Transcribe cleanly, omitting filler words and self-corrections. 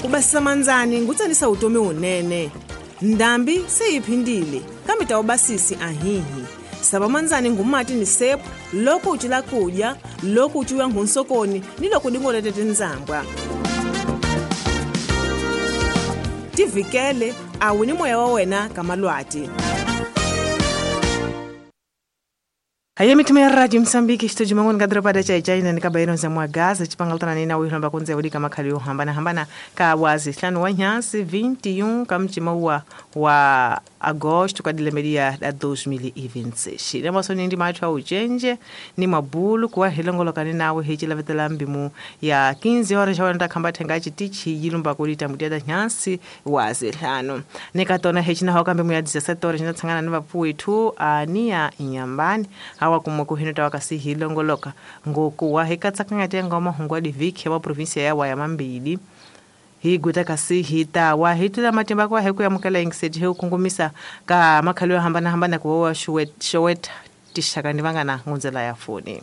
Ku basisa mandzani ngutsanisa vutomi wunene. Ndhambi se yi phindile kambe ta ubasisi ahihi. Sava mandzani ngumati ni sepu loko u cila kudya, loko u ciwa nghunsokoni ni loko dingolete tindzambwa. Tivikele a wu ni moya wa wena ka malwati. Haye mitimo ya radio Msambiki xitoji mangoni ka doroba da chaichai ni ka bayino za mwagaza chipangaltana nina wihulamba kunze wudika makhali yo hambana hambana ka wazi hlanu wa nyansi 21 ka mchima wa agosto ka dilemedia da 2026 lemaso nindi mathu a uchenje ni mabulu kuwa hilongolokani nawe hichilavetela mbimu ya 15 horas xawana ta khamba thenga chitichi yilumba kulita muteta nyansi wazi hlanu nikatona hechinaho ka mbimu ya 17 horas xinatsangana ni vapfuwithu ania inyambani awa kumwe kuhino tawakasi hilongoloka ngokuwa hikatsakangati ngoma hungwa diviki ya provinsia ya waya mambili higuta kasi hitawa hitula matimba kwa heku yamukela ingiseti heukungumisa ka makhali yo hambana hambana kuwa showeta tishaka ni vangana ngunzela ya foni.